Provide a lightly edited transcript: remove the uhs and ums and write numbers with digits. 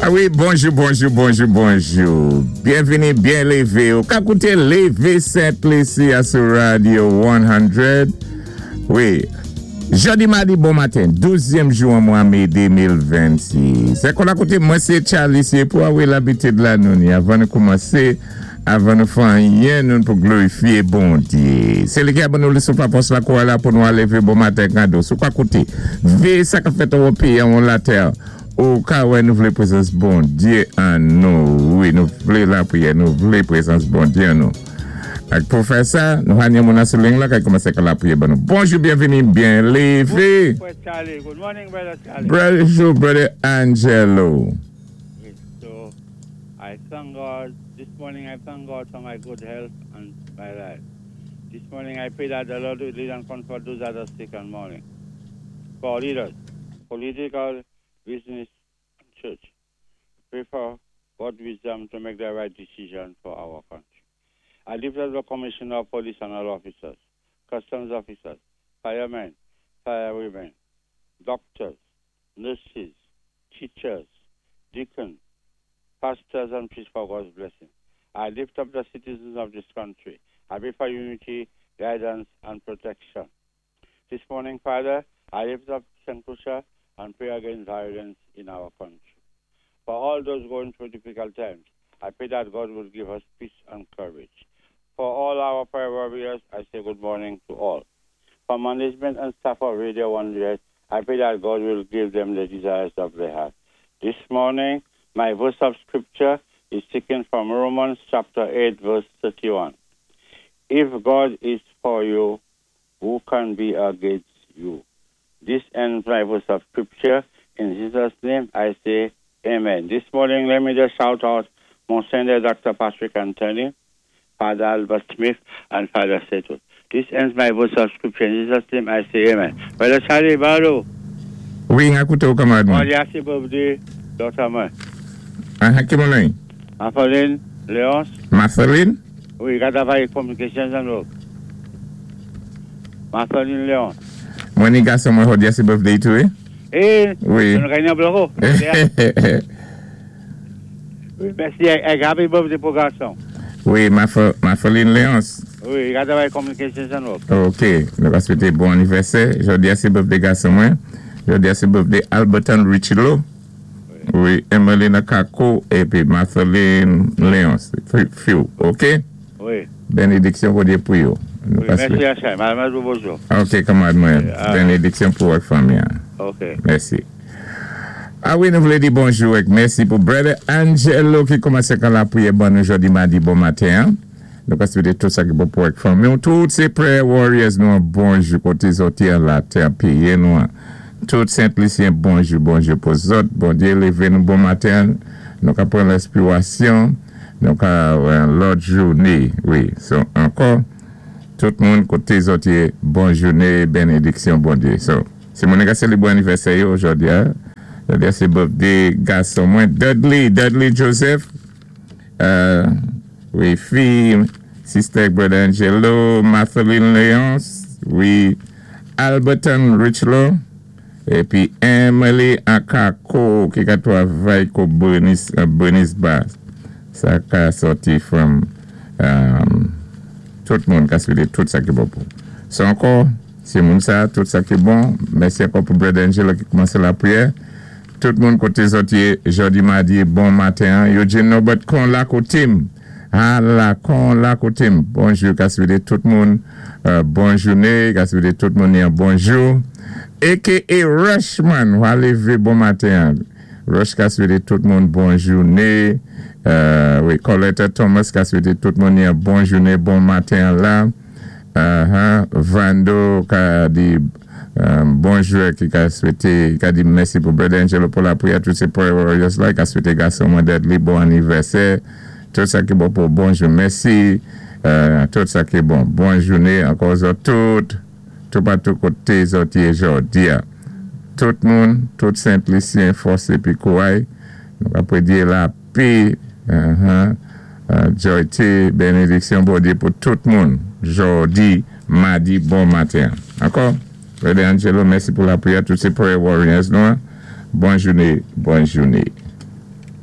A wi, bonjou, bonjou, bonjou, bonjou. Byenvini, byen lévé. Ou ka kouté Lévé Sent Lisi a sou Radio 100. Wi. Jòdi madi bon maten, douzyèm jou an mwa mé 2026. Sé kon akoté mwen sé Charlie sé pou a wi labitid la nou ni avan nou koumansé, avan nou fè anyen nou pou glorifié Bondyé. Sé li ki a ban nou le souf la fòs la kouray la pou nou a lévé bon maten kado. Si w ka kouté, véyé sa kap fèt anwo péyi anwo latè. Ou ka wè nou vlé prezans Bondyé an nou wi nou vlé lapriyè nou vlé prezans Bondyé an nou ak pou fè sa nou ha gen moun an sou ling la kay kòmansé ka lapriyè ban nou bonjou byenvini byen leve. Bonjou frè Charlie good morning brother Charlie. Bonjou brother Angelo. Wi so I thank God this morning I thank God for my good health and my life this morning I pray that the Lord will lead and comfort those that are sick and mourning for leaders political business and church pray for God wisdom to make the right decision for our country. I lift up the commissioner of police and all officers, customs officers, firemen, firewomen, doctors, nurses, teachers, deacons, pastors and priests for God's blessing. I lift up the citizens of this country. I pray for unity, guidance, and protection. This morning, Father, I lift up St. Lucia and pray against violence in our country. For all those going through difficult times, I pray that God will give us peace and courage. For all our prayer warriors, I say good morning to all. For management and staff of Radio 100, I pray that God will give them the desires of their heart. This morning, my verse of scripture is taken from Romans chapter 8, verse 31. If God is for you, who can be against you? This ends my verse of scripture. In Jesus' name, I say amen. This morning, let me just shout out Monsignor Dr. Patrick Anthony, Father Albert Smith, and Father Seto. This ends my verse of scripture. In Jesus' name, I say amen. Brother Charlie Barlow. Wi, n ap kouté ou kanmarad mwen. Jòdi a sé birthday daughter mwen. Aha, ki moun li? Marceline Léonce. Marceline? Wi, ka travay communications and work. Marceline Léonce. Mwen ni gason mwen jòdi a sé birthday tou wi. Eh, Wi. Nou genyen bloko. Wi, mèsi. Eh, happy birthday pou gason. Wi, Marceline Léonce. Wi, ka travay communications and work. Ok, nou va swété bon anivèsè. Jòdi a sé birthday gason mwen. Jòdi a sé birthday Alberton Richilo. Wi, Emmeline Kako épi Marceline Léonce. Fi ou, ok? Wi. Bénédiksyon Bondyé pou yo. Nou Wi, mèsi Achay. Madame bonjou. Ok, kanmarad mwen. Bénédiksyon pou ak fanmi an. Ok. Mèsi. A wi, nou vlé di bonjou ak mèsi pou Brother Angelo ki kòmansé kan lapriyè ban nou jòdi madi bon maten an. Nou ka swété tout sa ki bon pou ak fanmi ou. Tout sé prayer warriors nou an bonjou koté zòt yé an latè an péyi nou an. Tout Sent Lisyen bonjou bonjou pou zòt. Bondyé lévé nou bon maten an. Nou ka pran lèspirasyon. Nou ka wè an lòt jouné. Wi, so ankò tout moun koté zòt yé bon jouné benediksyon Bondyé. So. Si moun ka selebre anivèsè yo jodi a, jodi a se birthday gason mwen Dudley, Dudley Joseph, wi fi sister brother Angelo, Marceline Leonce, wi Alberton Richlow, epi Emily Akako ki ka travay ko Bernice, Bernice Bass. Sa ka sòti from tout moun ka swete tout sa ki bon pou. So ankò. Se moun sa, tout sa ki bon. Mèsi ankò pou Brother Angelo ki koumanse lapriyè. Tout moun kote zòt ye jòdi madi bon maten an. Eugene Norbert kon la kote m. Ha la kon la kote m. Bonjou ka swete tout moun bon joune. Ka swete tout moun yon bonjou. Aka Rushman wa leve bon maten an. Rush ka swete tout moun bon joune. Wi Coletta Thomas ka swete tout moun yon bon joune bon maten an la. Aha Vando ka di bonjou ki ka swete ka di mèsi pou Brother Angelo pou lapriyè tout se prayer warriors la ka swete gason mwen Dudley bon anivèsè tout sa ki bon pou bonjou mèsi tout sa ki bon bon joune ankò zòt tout toupatou kote zòt ye jòdia tout moun tout Sent Lisyen fòs epi kouray nou ka predye lapè Joy T benediksyon Bondye pou tout moun jodi madi bon maten ankò Brother Angelo mèsi pou lapriyè tout se prayer warriors nou an bon joune bon joune.